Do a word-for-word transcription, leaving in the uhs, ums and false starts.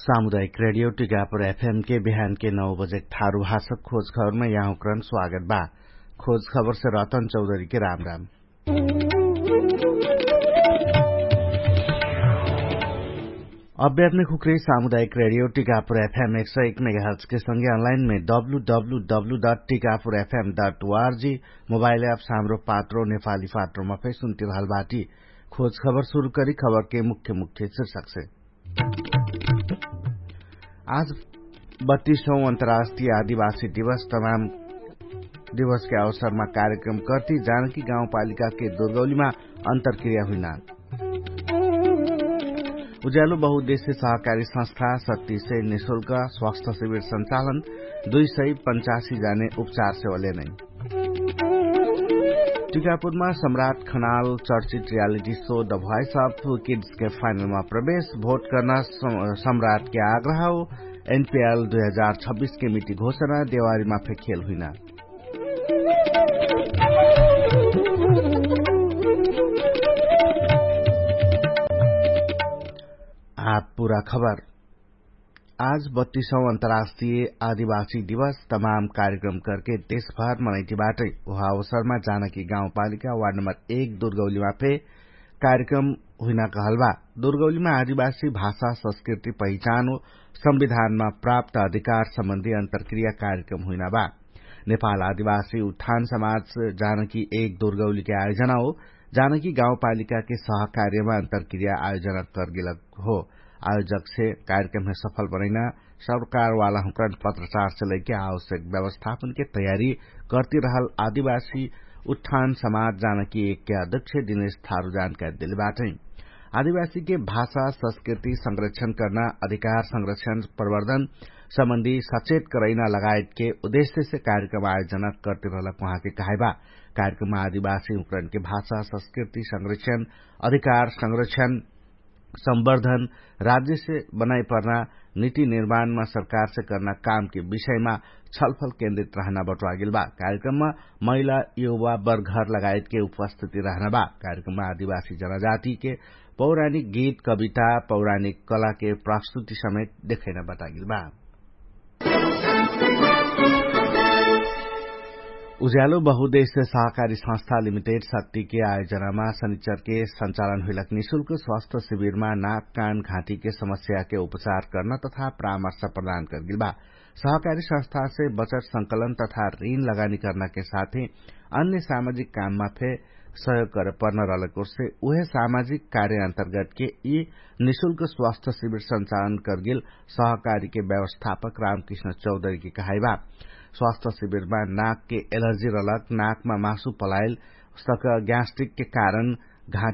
सामुदायिक रेडियो टिकापुर एफएम के बिहान के नौ बजेक थारु भाषक खोज खबरमे यहाँकरण स्वागत बा। खोज खबरसे रतन चौधरी के राम राम। अभ्यात्मिक हुक्रे सामुदायिक रेडियो टिकापुर एफएम एक सौ एक मेगाहर्च के संगे अनलाइनमे W W W dot Tikapur FM dot ORG mobile app सामरो पात्रो नेपाली पात्रोमा फे सुन्ति रहल बाटी। खोज खबर सुरु करी खबर के मुख्य मुख्य शिर्षक से। आज बत्तीसौं अन्तर्राष्ट्रिय आदिवासी दिवस तमाम दिवस के अवसरमा कार्यक्रम कर्ति जानकी गाउँपालिका के दुर्गौलीमा अन्तरक्रिया हुइना। उज्यालो बहुउद्देश्य सहकारी संस्था सत्ती से निशुल्क स्वास्थ्य शिविर सञ्चालन दुई सय पञ्चासी जाने उपचार सेवले नै। टिकापुरमा सम्राट खनाल चर्चित reality so the voice of kids के फाइनलमा प्रवेश भोट कर्ना सम्राट के आग्रह हो। एनपिएल दुई हजार छब्बिस के मिति घोषणा देवारीमा फे खेल हुइना। आप पुरा खबर। आज बत्तीसौं अन्तर्राष्ट्रिय आदिवासी दिवस तमाम कार्यक्रम करके देशभर मनैति बाटै। उहाँ अवसरमा जानकी गाउँपालिका वार्ड नम्बर एक दुर्गौलीमा फे कार्यक्रम हुइना कहल बा। दुर्गौलीमा आदिवासी भाषा संस्कृति पहिचान हो संविधानमा प्राप्त अधिकार सम्बन्धी अन्तरक्रिया कार्यक्रम हुइना बा। नेपाल आदिवासी उत्थान समाज जानकी एक दुर्गौलीके आयोजना हो। जानकी गाउँपालिकाके सहकार्यमा अन्तरक्रिया आयोजना कर्गिलक हो। आयोजकसे कार्यक्रममे सफल बनैना सरकारवाला हुँकरण पत्रचारसे लैके आवश्यक व्यवस्थापनके तयारी कर्ति रहल आदिवासी उत्थान समाज जानकी एकके अध्यक्ष दिनेश थारु जानकारी देले बाटै। आदिवासीके भाषा संस्कृति संरक्षण कर्ना अधिकार संरक्षण प्रवर्धन सम्बन्धी सचेत करैना लगायतके उद्देश्यसे कार्यक्रम आयोजना कर्ति रहलक उहाँके कहाइबा। कार्यक्रममा आदिवासी हुँकरणके भाषा संस्कृति संरक्षण अधिकार संरक्षण सम्वर्धन राज्यसे बनाइपर्ना निति निर्माणमा सरकारसे कर्ना कामके विषयमा छलफल केन्द्रित रहना बटुवागेल बा। कार्यक्रममा महिला युवा बर्घर लगायतके उपस्थिति रहना बा। कार्यक्रममा आदिवासी जनजातिके पौराणिक गीत कविता पौराणिक कलाके प्रस्तुति समेत देखैना बटागेल बा। उज्यालो बहुदेश्य सहकारी संस्था लिमिटेड शक्तिके आयोजनामा शनिचरके सञ्चालन हुइलक निशुल्क स्वास्थ्य शिविरमा नाक कान घाँटीके समस्याके उपचार कर्न तथा परामर्श प्रदान कर्गिल बा। सहकारी संस्थासे बचत संकलन तथा ऋण लगानी कर्नके साथै अन्य सामाजिक काममा फे सहयोग करे पर्न रहलक ओर्से उहे सामाजिक कार्य अन्तर्गतके यि निशुल्क स्वास्थ्य शिविर सञ्चालन कर्गिल सहकारीके व्यवस्थापक रामकृष्ण चौधरीके कहाइबा। स्वास्थ्य शिविरमा नाकके एलर्जी रहलक नाकमा मासु पलाइल सक ग्यास्ट्रिकके कारण घाँटी